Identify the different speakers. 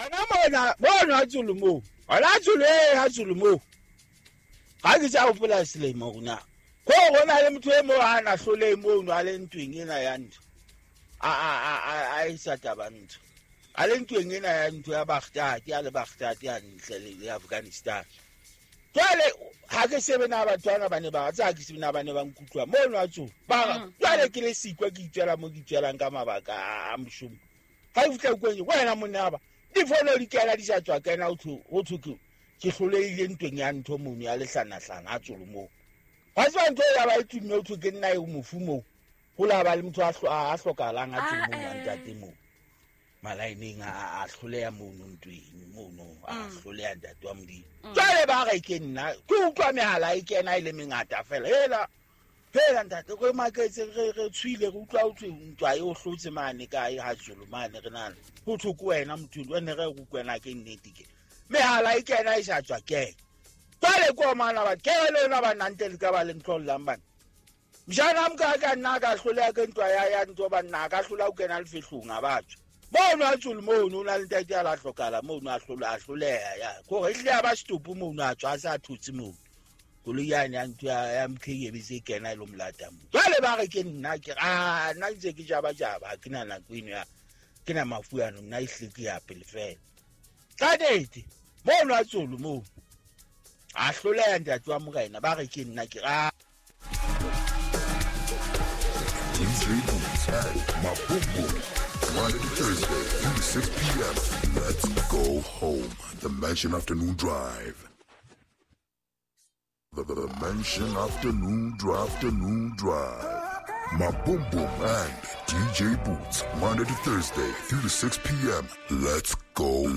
Speaker 1: Ana mona mono a tsolo moo ona a tsolo e a tsolo moo ga ke tsa gopola selemo gona ko go na le motho e mo a na hlole mono a le ntweng ena ya ntho a e sa taba ntho a le ntweng ena ya ntho ya Baghdad ya le Baghdad ya ntle le Afghanistan. Jwale ha ke shebe na batho bana ba ne ba tsa ke shebe na ba ne ba nkutlwa mono a tsolo ba jwale ke le sikwa ke itswela mo ke itswelang ka mabaka a moshomo. Ga e fitlha kwenye wena monna ba difono di kena di sa tswa kena ho thwe ke hloleile ntweng ya ntho mono ya lehlanahlana a tsolo moo. Ga tswa ntho ya ba e tumme ho thwe ke nna e mofu moo. Ho la ba le motho a hlokahalang a tsolo moo a ntate moo. Malaeneng a hloleha mono ntweng mono a hloleha ntate wa Modimo. Jwale ba re ke nna ke utlwa mehala e kena e le mengata fela. Hela hela ntate re maketse re tshwile re utlwa ho thwe ntwa e o hlotse mane kae ha tsolo mane re nana. Ho thwe ke wena motho wena re go kwena ke nnete ke. Mehala e kena e sa tswa ke. Jwale ko mana ba ke le lona ba nante le ka ba le ntlollang bana. Mjana mka ka nna ka hloleha ke ntwa ya ntwa ba nna ka hlola o kena lefehlong a batho. Mono a tsolo mono o na le ntate a la hlokala mono a hlola a hloleha ya. Kore e hle ya ba stopo mono a tswa a sa thotse mono. Koloi yane ya ntho ya MK e be se kena e lo molata mo. Jwale ba re ke nna ke a nna ntse ke jaba jaba ke na nako eno ya ke na mafu ano nna e hle ke ya pele fela. Ka nnete mono a tsolo moo a hloleha ntate wa morena ba re ke nna ke a
Speaker 2: DJ Boots and Maboom. Monday to Thursday, 3 to 6 p.m. Let's go home. The Mansion Afternoon Drive. The Mansion Afternoon Drive. Afternoon Drive. Maboom and DJ Boots. Monday to Thursday, 3 to 6 p.m. Let's go.